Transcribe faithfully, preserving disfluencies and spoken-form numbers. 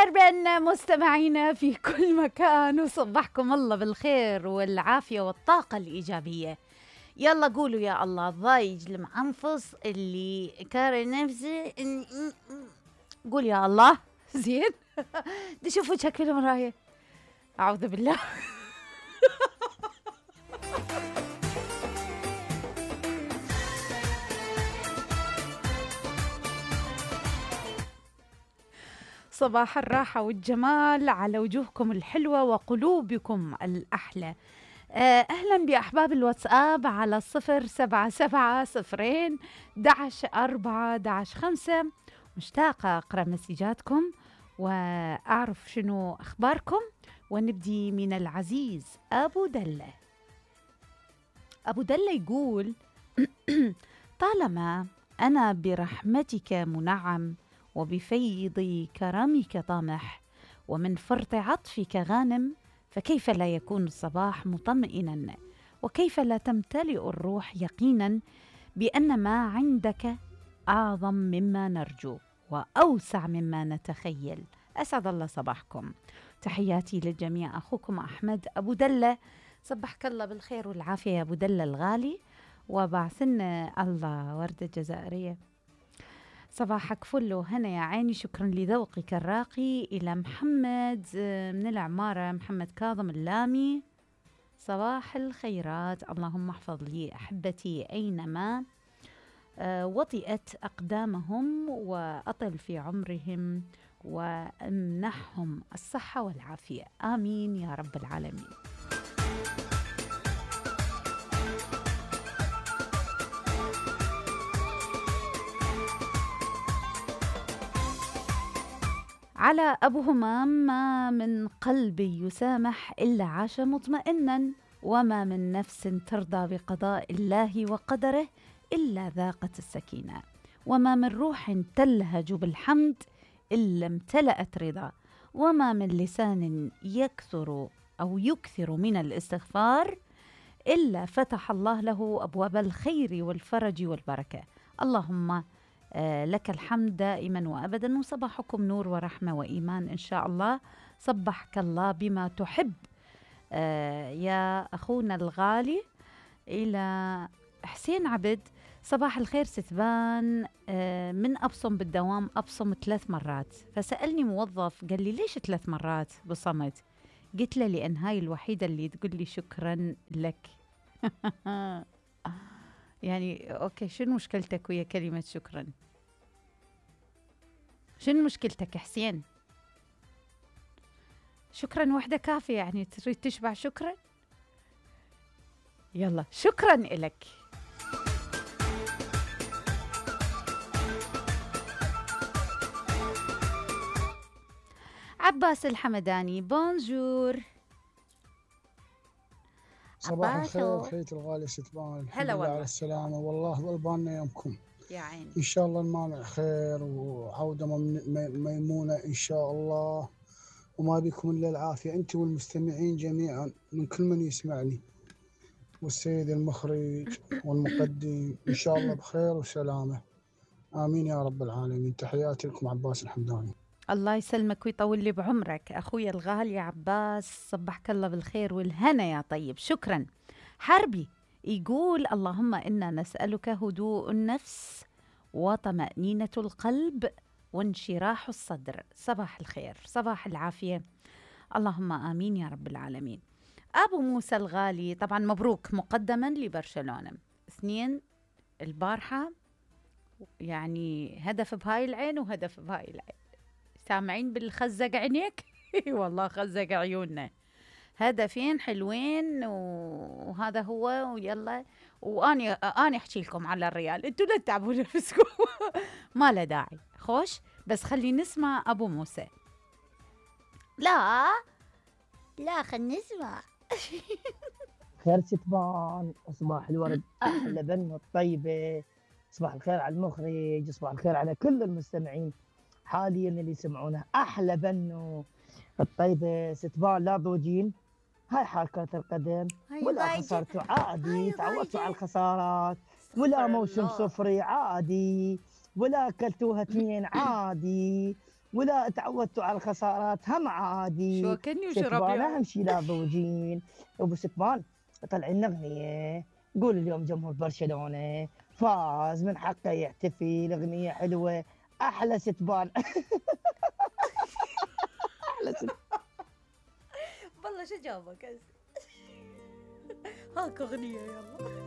مرحبا مستمعينا في كل مكان، وصبحكم الله بالخير والعافية والطاقة الإيجابية. يلا قولوا يا الله الضايج المعنفص اللي كاره نفسه. قول يا الله. زين. دي شوفوا شكل المراية. أعوذ بالله. صباح الراحة والجمال على وجوهكم الحلوة وقلوبكم الأحلى. أهلا بأحباب الواتساب على صفر سبعة سبعة صفرين دعش أربعة دعش خمسة. مشتاقة أقرأ مسجاتكم وأعرف شنو أخباركم. ونبدي من العزيز أبو دلة. أبو دلة يقول: طالما أنا برحمتك منعم، وبفيض كرمك طامح، ومن فرط عطفك غانم، فكيف لا يكون الصباح مطمئنا، وكيف لا تمتلئ الروح يقينا بأن ما عندك أعظم مما نرجو وأوسع مما نتخيل. أسعد الله صباحكم. تحياتي للجميع. أخوكم أحمد أبو دلة. صبحك الله بالخير والعافية يا أبو دلة الغالي، وبعثنا الله وردة جزائرية. صباحك فل وهنا يا عيني. شكرا لذوقك الراقي. إلى محمد من العمارة، محمد كاظم اللامي. صباح الخيرات. اللهم احفظ لي أحبتي أينما وطئت أقدامهم، وأطل في عمرهم، وامنحهم الصحة والعافية. آمين يا رب العالمين. على أبو همام: ما من قلب يسامح إلا عاش مطمئنا، وما من نفس ترضى بقضاء الله وقدره إلا ذاقت السكينة، وما من روح تلهج بالحمد إلا امتلأت رضا، وما من لسان يكثر أو يكثر من الاستغفار إلا فتح الله له أبواب الخير والفرج والبركة. اللهم آه لك الحمد دائما وأبدا، وصباحكم نور ورحمة وإيمان إن شاء الله. صبحك الله بما تحب آه يا أخونا الغالي. إلى حسين عبد: صباح الخير ستبان، آه من أبصم بالدوام أبصم ثلاث مرات، فسألني موظف قال لي ليش ثلاث مرات بصمت؟ قلت له لأن هاي الوحيدة اللي تقول لي شكرا لك. يعني أوكي، شنو مشكلتك ويا كلمة شكرا؟ شنو مشكلتك حسين؟ شكرا وحدة كافية، يعني تريد تشبع شكرا؟ يلا شكرا إلك. عباس الحمداني: بونجور. صباح الخير خيتي الغالية ستبان، الحمد لله على السلامة، والله ظل بالنا يومكم يا عيني. إن شاء الله المانع خير وعودة ميمونة إن شاء الله، وما بكم إلا العافية أنت والمستمعين جميعا من كل من يسمعني، والسيد المخرج والمقدم إن شاء الله بخير وسلامة. آمين يا رب العالمين. تحياتي لكم عباس الحمداني. الله يسلمك ويطول لي بعمرك أخويا الغالي عباس. صبحك الله بالخير والهنا يا طيب. شكرا. حربي يقول: اللهم إنا نسألك هدوء النفس وطمأنينة القلب وانشراح الصدر. صباح الخير، صباح العافية. اللهم آمين يا رب العالمين. أبو موسى الغالي: طبعا مبروك مقدما لبرشلونة اثنين البارحة، يعني هدف بهاي العين وهدف بهاي العين. سامعين بالخزق عينيك؟ والله خزق عيوننا. هدفين حلوين وهذا هو. ويلا واني اني احكي لكم على الريال، انتوا لا تتعبوا نفسكم. ما له داعي. خوش بس خلي نسمع ابو موسى. لا لا خل نسمع. خير ستبان، صباح الورد احلى بنه الطيبه. صباح الخير على المخرج، صباح الخير على كل المستمعين حاليا اللي يسمعونه. احلى بنو الطيبه ستبان، لا ضوجين. هاي حال كرة القدم، ولا خسرتوا عادي، تعودتوا على الخسارات، ولا موسم صفري عادي، ولا اكلتوها اثنين عادي، ولا تعودتوا على الخسارات هم عادي. شو كني وشرب ستبان يا اهم شي لا ضوجين. ابو ستبان طلعنا اغنيه، قول اليوم جمهور برشلونه فاز من حقه يحتفل، اغنيه حلوه. احلى ستبان. احلى ستبان. والله شو جابك هاك اغنيه يلا.